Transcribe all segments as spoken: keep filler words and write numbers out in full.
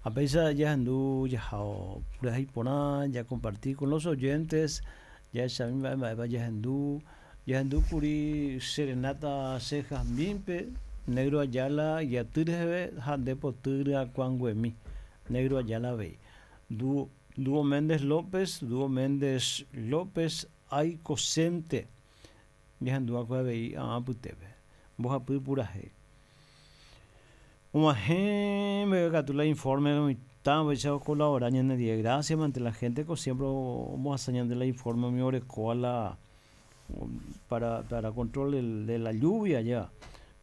A pesar ya hendu ya purahéi ya compartir con los oyentes ya esa misma ya hendu ya hendu kuri serenata cejas mimpe Negro Ayala y atyreheve ha nde poty ryakuãnguemi Negro Ayala avei Dúo, Dúo Méndez López Dúo Méndez López Aikosente ñahenduakue avei ã apytépe mbohapy purahéi og̃uahẽ mbeguekatu la informe mitã upéicha ocolabora ñanendie gracias ante la gente ko siempre ombohasa ñande la informe umi orekóva la para, para control del, de la lluvia ya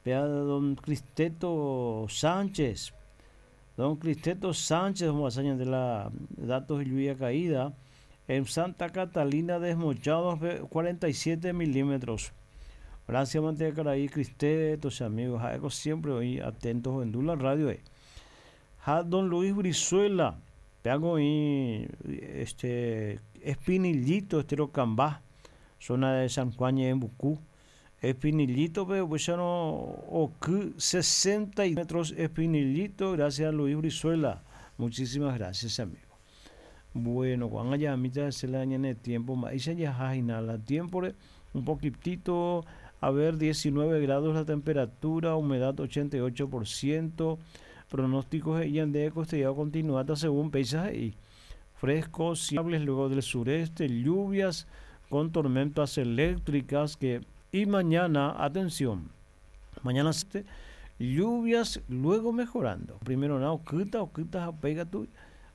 Vea don Cristeto Sánchez don Cristeto Sánchez ombohasa ñande la datos de lluvia caída en Santa Catalina desmochados cuarenta y siete milímetros. Gracias, Manteca Caraí, Cristeto, amigos, ha'éko siempre oĩ atentos ohendu la radio. Eh. Ha don Luis Brizuela, peago oĩ este Espinillito, Estero Cambá, zona de San Juan Ñeembucú. Espinillito, pe upéicharõ oky sesenta metros Espinillito, gracias a Luis Brizuela. Muchísimas gracias, amigo. Bueno, Juan allá mitad se la ñane tiempo, mba'éicha jaha hína la tiempo un poquitito, a ver, diecinueve grados la temperatura, humedad ochenta y ocho por ciento, pronósticos he'i ñande costeado continuata según péicha he'i. Frescos, estables luego del sureste, lluvias con tormentas eléctricas que y mañana, atención, mañana lluvias luego mejorando. Primero nada, okyta, okyta, pega tu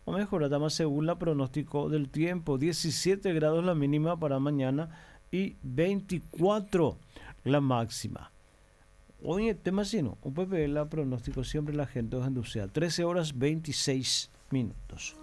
o mejorada más según la pronóstico del tiempo, diecisiete grados la mínima para mañana y veinticuatro la máxima. Hoy el tema sino, un P P la pronóstico siempre la gente os entusiasma. trece horas veintiséis minutos.